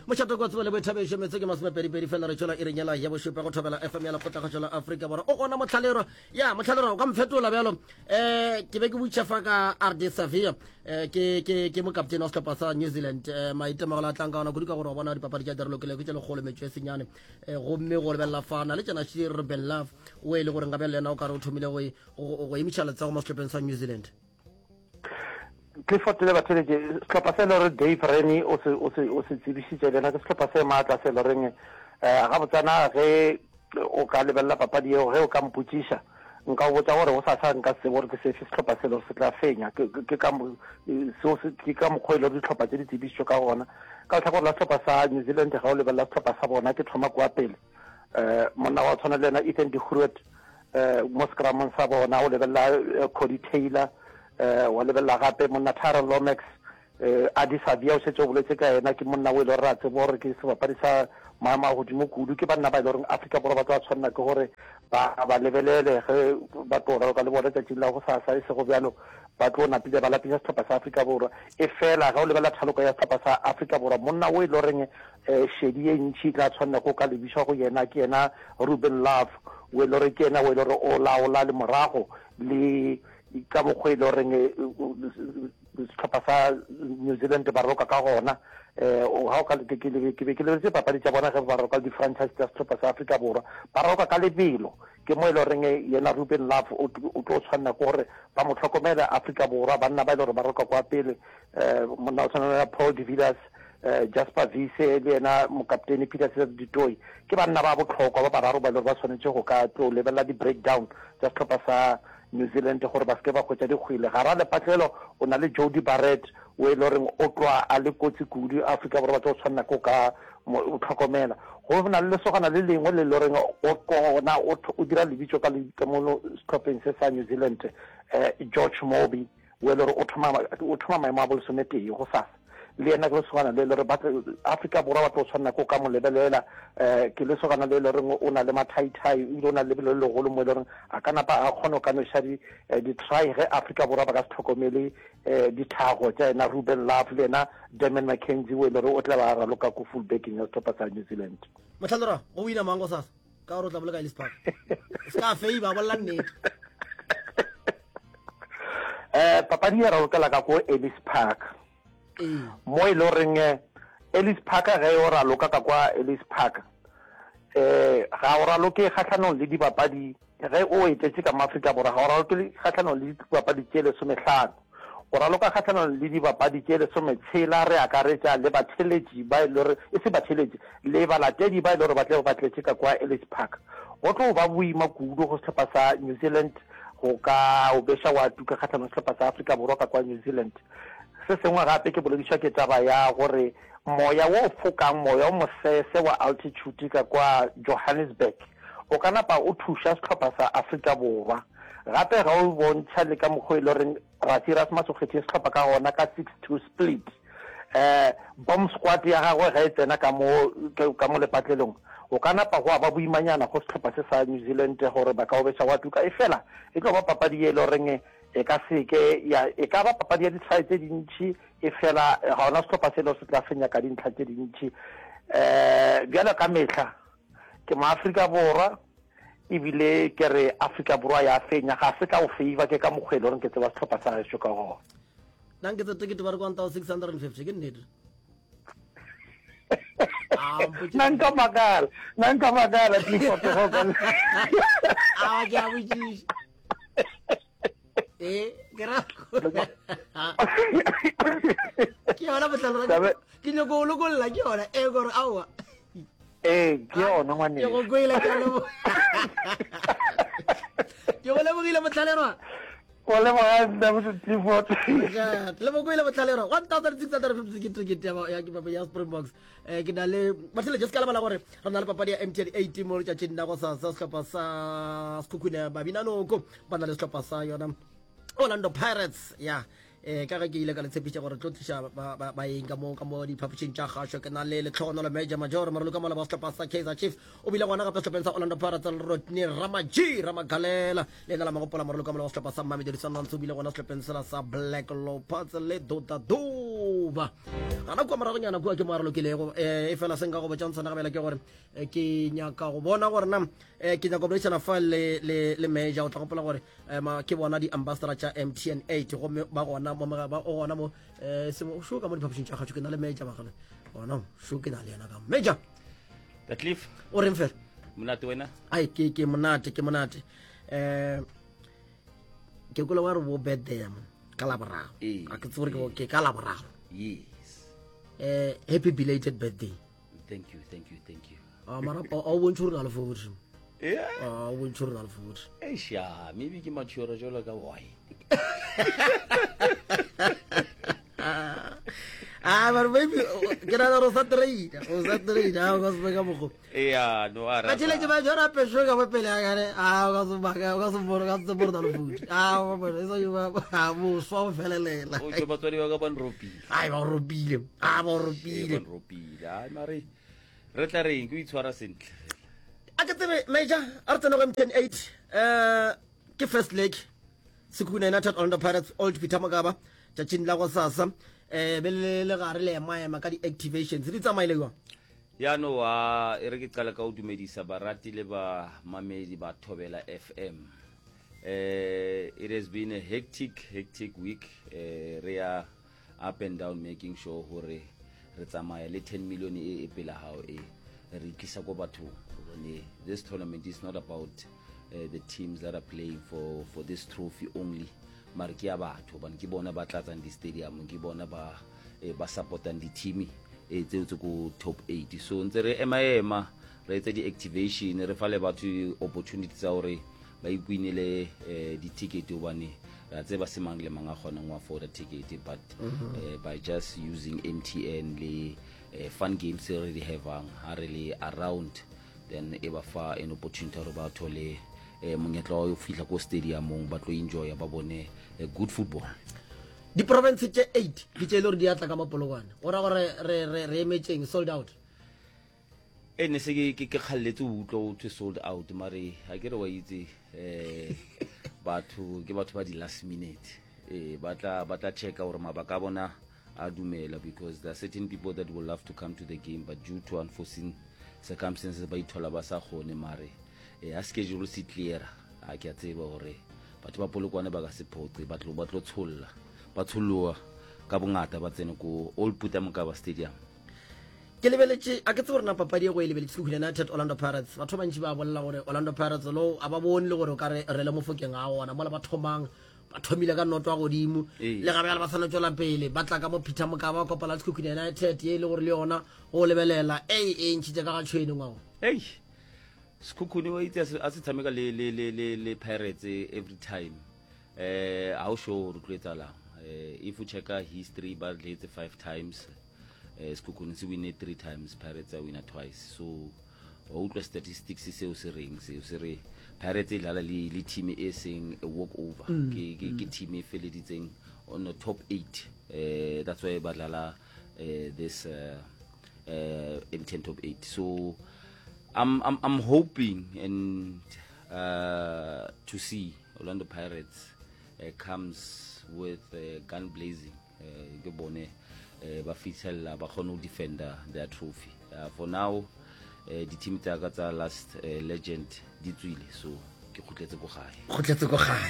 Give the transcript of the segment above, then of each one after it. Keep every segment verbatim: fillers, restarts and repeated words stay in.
Mošate kwa tsebo le boithabišo metse ke masomepedipedi fela re tšwela iring yela ya bošupa go thobela F M ya lekgotlakgašo la Afrika Borwa. O gona mohlalero ya mohlalero o ka mfetola bjalo. Eh ke be ke butša fa ka R D Savia eh ke ke ke mokaptene wa sehlopha sa New Zealand eh maitemogelo a tlang ka ona kudu ka gore wa bona dipapadi tša direlokile ke tše lekgolo metšo e senyane eh gomme go lebelela fa na le tšena Shir Ben Love o e le gore nka bjale yena o ka re o thomile go go emiša letsogo mo sehlopheng sa New Zealand. Clifford le batheletše sehlopha se le gore Dave Rennie o se o se o se tsebišitše le yena ke sehlopha se maatla se le goreng eh gabotsana ge o ka lebelela papadi yeo ge o ka mpotšiša nka o botša gore go sasa nka se tsebe gore ke sefe sehlopha se le gore se tla fenya ke ke ka seo se ke ka mokgwa e le gore dihlopha tse di tsebišitšwe ka gona ka lehlakore la sehlopha sa New Zealand ga o lebelela sehlopha sa bona ke thoma kwa pele eh monna wa tshwana le yena Ethan de Groot eh mo scrumong sa bona o lebelela Cody Taylor eh wa lebelela gape monna Tyrell Lomax eh Adi Savia o šetše o boletse ka yena ke monna o e le gore re a tseba gore ke sebapadi sa maemo a godimo kudu ke banna ba e le goreng Afrika Borwa ba tlo tshwanela ke gore ba ba lebelele ge ba tlo raloka le bona tšatšing la go sasa e sego bjalo ba tlo napile ba lapiša sehlopha sa Afrika Borwa e fela ge o lebelela thaloko ya sehlopha sa Afrika Borwa monna o e le goreng eh šedi ye ntši e tla tshwanela go ka lebišwa go yena ke yena Ruben Love o e le gore ke yena o e le gore o laola le morago le ka mokgwa e le goreng sehlopha sa New Zealand ba roka ka gona eh ga o ka ke ke be ke lebeletse papadi tša bona ge ba roka le di-franchise tša sehlopha sa Afrika Borwa ba roka ka lebelo ke mo e le goreng yena Ruben Love o tlo tshwanela ke gore ba mo hlokomele Afrika Borwa banna ba e le gore ba roka kwa pele eh monna o tshwana le Paul de Villiers eh Jasper Wiese le yena mokaptene Peter Ditoi ke banna ba bohlokwa ba bararo ba e le gore ba tshwanetse go ka tlo lebelela di-breakdown tša sehlopha sa New Zealand gore ba seke ba hwetša dikgwele gara lepatlelo o na le Jody Barrett o e le goreng o tloa a le kotsi kudu Afrika Borwa ba tlo tshwanela ke ka o tlhokomela go na le lesogana le lengwe le le goreng o kona o dira lebitso ka ka mo sehlopheng se sa New Zealand eh George Moby o e le gore o thoma o thoma maemo a bolesometee go sasa le yena ke lesogana le le gore ba Afrika Borwa ba tlo tshwanela ke ka mo lebelela eh ke lesogana le le goreng o na le mathaithai ebile o na le lebelo le legolo mo e le goreng a ka napa a kgona go ka noša di di-try ge Afrika Borwa ba ka se tlhokomele eh dithago tša yena Ruben Love le yena Damien McKenzie o e le gore o tla ba raloka ko fullbacking ya sehlopha sa New Zealand. Mohlalora go wina mang go sasa ka gore o tla boloka Ellis Park se ka feiba bolela nnete eh papadi ya ralokela ka ko Ellis Park mo e le goreng Ellis Park ge o raloka ka kwa Ellis Park eh ga o raloke kgahlanong le dibapadi ge o etletše ka mo Afrika Borwa ga o raloke kgahlanong le dibapadi tše lesomehlano o raloka kgahlanong le dibapadi tše lesometshela re akaretša le batheletši ba e le gore e se batheletši le balatedi ba e le gore ba tle ba tletše ka kwa Ellis Park go tlo ba boima kudu go sehlopha sa New Zealand go ka o beša wa tuka kgahlanong sehlopha sa Afrika Borwa ka kwa New Zealand se sengwe gape ke boledišwa ke taba ya gore moya wo fokang moya o mosese wa altitude ka kwa Johannesburg o ka napa o thuša sehlopha sa Afrika Borwa gape ga o bontšha le ka mokgwa e le goreng Rassie Erasmus o kgethile sehlopha ka gona ka six two split eh bomb squad ya gagwe ge e tsena ka mo ka mo lepatlelong o ka napa go ba boimanyana go sehlopha se sa New Zealand gore ba ka o beša wa tuka e fela e tlo ba papadi ye e le goreng e ka seke ya e ka ba papadi ya ditshwae tse dintši e fela ga ona sehlopha se le se tla fenya ka dintlha tse dintši um bjalo ka mehla ke mo Afrika Borwa ebile ke re Afrika Borwa ya fenya ga se ka o favor ke ka mokgwa e le goreng ke tseba sehlopha sa gešo ka gona nna nke tse tekete ba re one thousand six hundred and fifty ke nnete nna nka makala nna nka makala Clifford a ke a botšiša ee ke ra ke yona botlalo ke nyako o lokolla ke yona ee gore aowa ee ke yona ngwane ke go kwele ke lebo ke go lebogile motlhalerwa go leboga nna Clifford le bo kwele motlhalerwa one thousand six hundred fifty ke ticket ya ya ya Springboks eh ke na le batlhele just ka lebala gore re na le papadi ya M T N eight mo letšatšing la go sasa sehlopha sa Sekhukhune Babinanoko ba na le sehlopha sa yona Orlando Pirates ya eh ka ge ke ile ka le tshepiša gore tlo tliša baeng ka mo ka mo diphapošing tša kgašo ke na le letlhogonolo major major moraloka mola ba sehlopha sa Kaizer Chiefs o bile gona gape sehlopheng sa Orlando Pirates le Rodney Ramaji Ramagalela le ena la magopola moraloka mola wa sehlopha sa Mamelodi Sundowns o bile gona sehlopheng sela sa Black Leopards le Dota Dube October gana kua moragonyana kua ke mo a re lokilego um e fela se nka go botšang sona gabela ke gore eh, ke nyaka go bona gore na um ke nyaka go boledišana fa le, le, le major o tla gopola gore um ke bona di-ambassador tša mtn eight gomme ba gona mo ba o gona mo um šo ka mo diphapošing tša kgatšo ke na le major bagale gona šo ke na le yena ka major The Cliff, o reng fela monate wena? ai ke ke monate ke monate um ke kole wa re bo birthday mo ka laboraro Ee. a ke tsebe gore ke ka laboraro Yes. um happy belated birthday Thank you, thank you, thank you. Ah, mara a o bontšhe gore na le forty Yeah. a o bontšhe gore na le forty Eish, ya, maybe ke mature jwalo ka wine. ah mara maybe ke nagana gore o sa traina o sa traina a o ka se be ka mokgo Yeah, no a batšheletše ba jora pešo ka mo pele akane a o ka se baka o ka se bone o ka se tsebe gore na le forty a e sa boswa bo felelela O tšo batswadi ba ka ba nropile. ai ba o ropile a ba o Ee, ropile ba nropile. Ai mare re tla reng ke o itshwara sentle. a ke tsebe major a re tsene go mtn eight um ke first leg Sekhukhune United Orlando Pirates Old Peter Mokaba tšatšing la go sasa um be le le gare le emaema ka di-activations di tsamaile jwang Ya no a e re ke qala ka ho dumedisa barati le ba mamedi ba Thobela FM. Eh it has been a hectic hectic week eh re ya up and down making sure hore re tsamaya le ten million e e pela hao e re tlisa ko bathong hobane this tournament is not about uh, the teams that are playing for for this trophy only mare ke ya batho hobane ke bona ba tlatsang di-stadium ke bona ba eh, ba supportang di-team eh, tseo tse ko top eight so ntse re ema ema re etse di-activation re fa le batho opportunity tsa hore ba ikwinele eh, di-ticket hobane re a tseba se mang le mang a kgonang ho afforda ticket but eh, by just using mtn le eh, fun games e re di havang ha re le around then e ba fa an opportunity hore ba thole eh, monyetla wa ho fihla ko stadiumong ba tlo enjoya ba bone eh, good football diprovince tše eight ke tše e le gore di atla ka mapolokwane go ra gore re re re emetseng sold out e ne se ke ke ke kgalletse ho utlwa ho thwe sold out mare ha ke re wa itse eh batho ke batho ba di last minute eh ba tla ba tla checka hore mabaka a bona a dumela because there are certain people that will love to come to the game but due to unforeseen circumstances ba ithola ba sa kgone mare eh ha schedule se clear a ke a tseba hore batho ba polokwane ba ka se phoqe ba tlo ba tlo tsholla ba tsholloa ka bongata ba tsene ko Old Peter Mokaba Stadium ke lebeletše a ke tsebe gore na papadi e go e lebeletše Sekhukhune United Orlando Pirates batho ba bantši ba bolela gore Orlando Pirates lo a ba bone le gore o ka re re le mofokeng a gona mola ba thomang ba thomile ka noto ya godimo Ee. le gabe ba sana tswela pele ba tla ka mo Peter Mokaba ba kopana le Sekhukhune United ye e le gore le yona go lebelela ei e ntšhitše ka ga tšhwene ngwago ei Sekhukhune wa itse a se- a se tshameka le le le le le Pirates every time eh ha o sure gore tlo etsahalang eh if o checka history ba dletse five times eh Sekhukhune se winne three times Pirates a winna twice so wa utlwa statistics seo se reng seo se re Pirates e dlala le le team e seng a walk over ke ke ke team e feleditseng on the top eight eh that's why ba dlala eh this uh, uh M ten top eight so I'm I'm I'm hoping and uh, to see Orlando Pirates uh, comes with uh, gun blazing. Uh, ke bone uh, ba fitlhella ba kgone ho defender their trophy. Uh, for now uh, di-team tsa ka tsa last uh, legend di tswile so ke kgutletse ko gae. Kgotletse ko gae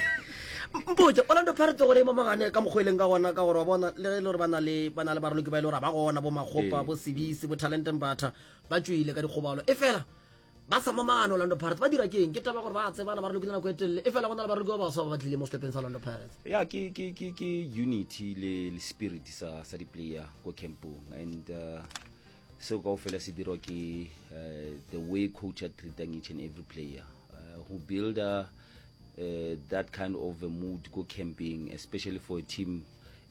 mpotse Orlando Pirates gore e momagane ka mokgwa e leng ka gona ka gore wa bona le ge e le gore ba na le ba na le baraloki ba e le gore ga ba gona bo Magopa Ee. bo Sebisi bo Talente Mbatha ba tswile ka dikgobalo e fela ba sa momagane Orlando Pirates ba dira ke eng ke taba gore ba tsebana ba ralokile nako e telele e fela go na le baraloki ba baswa ba ba tlile mo setlhopheng sa Orlando Pirates ya ke ke ke ke unity le le spirit sa sa di player ko campong and uh, seo kaofela se dirwa ke uh, the way coach a treatang each and every player uh, who build a, uh, that kind of a mood ko camping especially for a team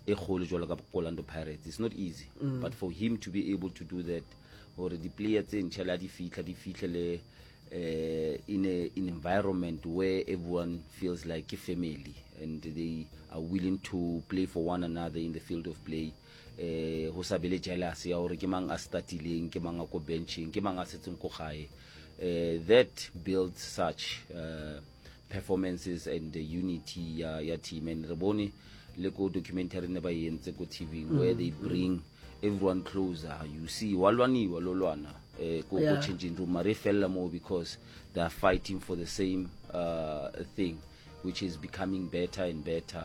e kgolo jwalo ka Orlando Pirates it's not easy mm. but for him to be able to do that gore di-player tse ntšha le ha di fitlha di fitlhele uh, in a in environment where everyone feels like a family and they are willing to play for one another in the field of play eh ho sa be le jealous ya hore ke mang a startileng ke mang a ko benching ke mang a setseng ko gae eh that builds such uh, performances and the unity ya ya team and re bone le ko documentary ne ba e entse ko T V where they bring everyone closer you see wa lwaniwa lo lwana eh ko Yeah. ko changing room mare e fella mo because they are fighting for the same uh, thing which is becoming better and better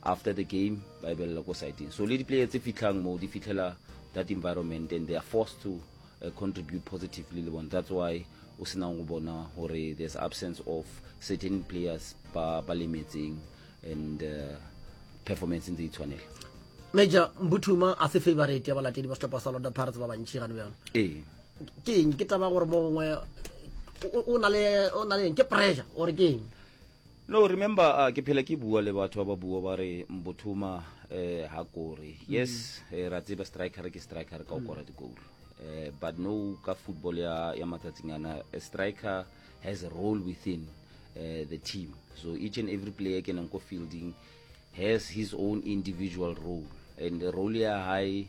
after the game ba e belela ko sideng so le di-player tse fitlhang mo di fitlhela that environment and they are forced to uh, contribute positively le bona that's why o senang go bona gore there's absence of certain players ba ba lemetseng and uh, performance ntse e tshwanela major mbuthuma a se favorite ya balatedi ba sehlopha sa Orlando Pirates ba bantši gane bjalo ee ke eng ke taba gore mo gongwe o- o na le o na le eng ke pressure ore ke eng no remember uh, ke phela ke bua le batho ba ba bua ba re mbuthuma eh ha kore yes eh, ra tseba striker ke striker ka o kora di-goal eh, but no ka football ya, ya matsatsing ana a striker has a role within uh, the team so each and every player kenang ko fielding has his own individual role and the role ya hae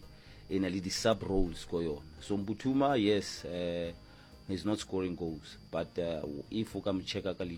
e na le di-sub roles ko yona so mbuthuma yes uh, he's not scoring goals but uh, if o ka mo checka ka leihlo